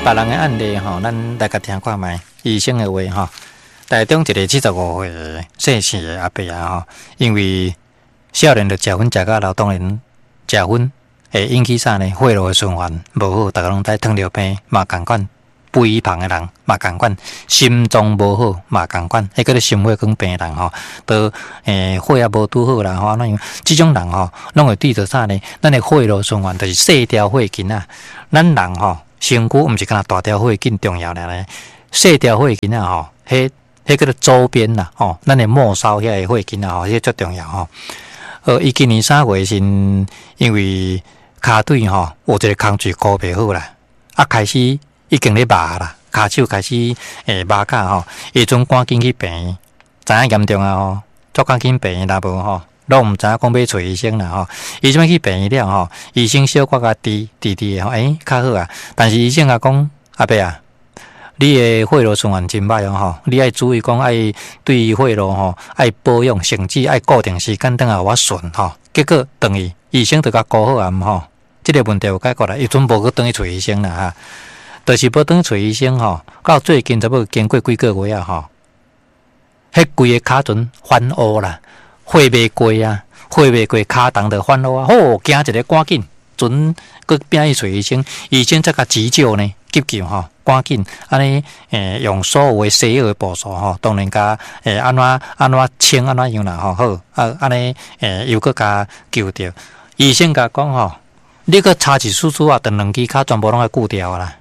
別人的案例吼，咱來共聽看覓醫生的話吼。台中一个75歲的姓謝的阿伯啊吼，因為少年就食薰食甲老，當然食薰會引起啥呢？血路的循環無好，逐家攏知糖尿病嘛仝款，肥胖的人嘛仝款，心臟無好嘛仝款，彼叫做心血管病的人吼，都血壓無拄好啦吼，按怎樣？這種人吼，攏會對著啥呢？咱的血路循環就是細條血筋啊。咱人吼，身軀毋是干焦大條血筋重要爾呢，細條血筋啊吼，彼叫做周邊啦吼，咱的末梢遐个血筋啊吼，彼足重要吼。伊今年3月時，因為跤腿吼有一个空喙箍袂好啦，啊開始已經咧麻啦，跤手開始麻甲吼，伊陣趕緊去病院，知影嚴重啊吼，足趕緊病院，若無吼，攏毋知影講欲揣醫生啦吼。伊這擺去病院了吼，醫生小可共治治治吼，較好啊。但是醫生共講，阿伯啊，你的血路循環真歹哦吼，你愛注意講愛對血路吼愛保養，甚至愛固定時間轉來予我巡吼。結果轉去醫生就共顧好啊，毋吼，這个問題有解決啦，伊陣無閣轉去揣醫生啦哈。就是無轉去揣醫生吼，到最近差不多經過幾個月啊吼，彼規个跤脣反烏啦，血袂過啊，血袂過，跤脣就反烏啊，好驚一个趕緊，陣閣拚去揣醫生，醫生才共急救呢，急救吼，趕緊按呢用所有的西藥的步數吼，當然共按怎按怎清按怎樣啦吼，好啊按呢又閣共救著。醫生共講吼，你閣差一絲絲啊，就兩支跤全部攏愛鋸掉啦。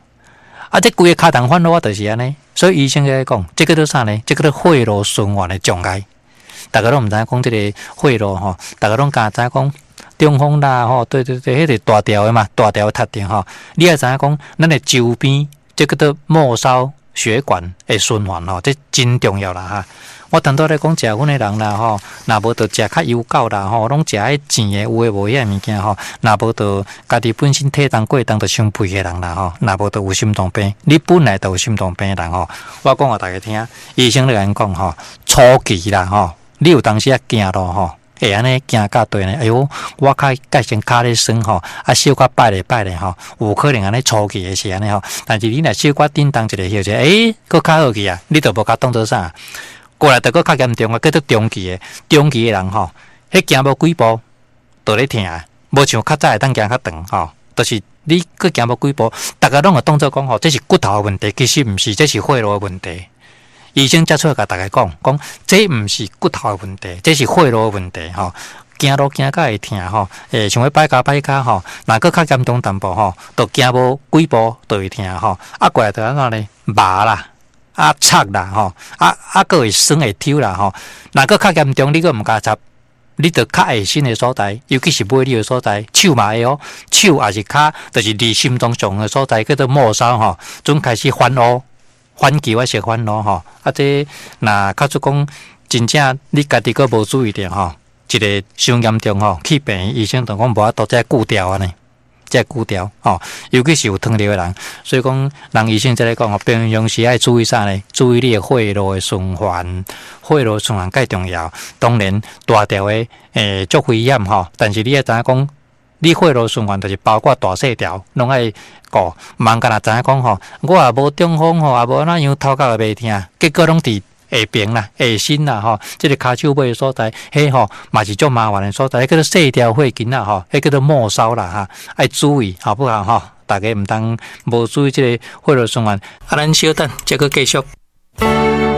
啊，這規个跤脣反烏就是按呢，所以醫生咧講，這叫做啥呢？這叫做血路循環的障礙。逐家攏毋知影講這个血路吼，逐家攏敢知影講中風啦吼，對對對，彼個大條的嘛，大條的窒著吼。你愛知影講，咱的周邊這叫做末梢血管的循環吼，這真重要啦哈。我頭拄咧講食薰的人啦吼，若無就食較油厚啦吼，攏食彼甜的有的無遐物件吼，若無就家己本身體重過重就傷肥的人啦吼，若無就有心臟病，你本來就有心臟病的人吼，我講予大家聽，醫生咧共𪜶講吼，初期啦吼，你有當時仔行路吼，會按呢行甲對呢，哎喲，我較改成跤咧酸吼，啊小可擺咧擺咧吼，有可能按呢初期的是按呢吼，但是你若小可振動一下休者，閣較好去啊，你就無共當做啥。過來就閣較嚴重啊，叫做中期的，中期的人吼，彼行無幾步就咧疼，無像較早會當行較長吼，就是你閣行無幾步，逐家攏會當做講吼，這是骨頭的問題，其實毋是，這是血路的問題。醫生才出來共大家講，講這毋是骨頭的問題，這是血路的問題吼。行路行甲會疼吼，想欲擺跤擺跤吼，若閣較嚴重淡薄吼，就行無幾步就會疼吼。啊，過來就按怎呢？麻啦。啊，插啦吼，啊啊，閣會酸會抽啦吼。若閣較嚴重，你閣毋共插，你就較下身的所在，尤其是尾鑰的所在，手嘛會哦，手抑是跤，就是離心臟上的所在，叫做末梢吼，陣開始反烏，反球仔式反烏吼。啊，這若假使講真正你家己閣無注意著吼，一个傷嚴重吼，去病院醫生就講無法度，這鋸掉按呢。這鋸掉吼，尤其是有糖尿的人，所以講，人醫生才咧講吼，平常時愛注意啥呢？注意你的血路的循環，血路循環蓋重要。當然，大條的足危險吼，但是你愛知影講，你血路循環就是包括大細條，攏愛顧。毋通干焦知影講吼，我也無中風吼，也無按怎樣，頭殼也袂疼，結果攏佇下爿啦、下身啦吼，這个跤手尾的所在，彼吼嘛是足麻煩的所在，彼叫做細條血筋啦吼，彼叫做末梢啦哈，愛注意好不好吼？大家毋通無注意這个血路循環。啊，咱小等，這閣繼續。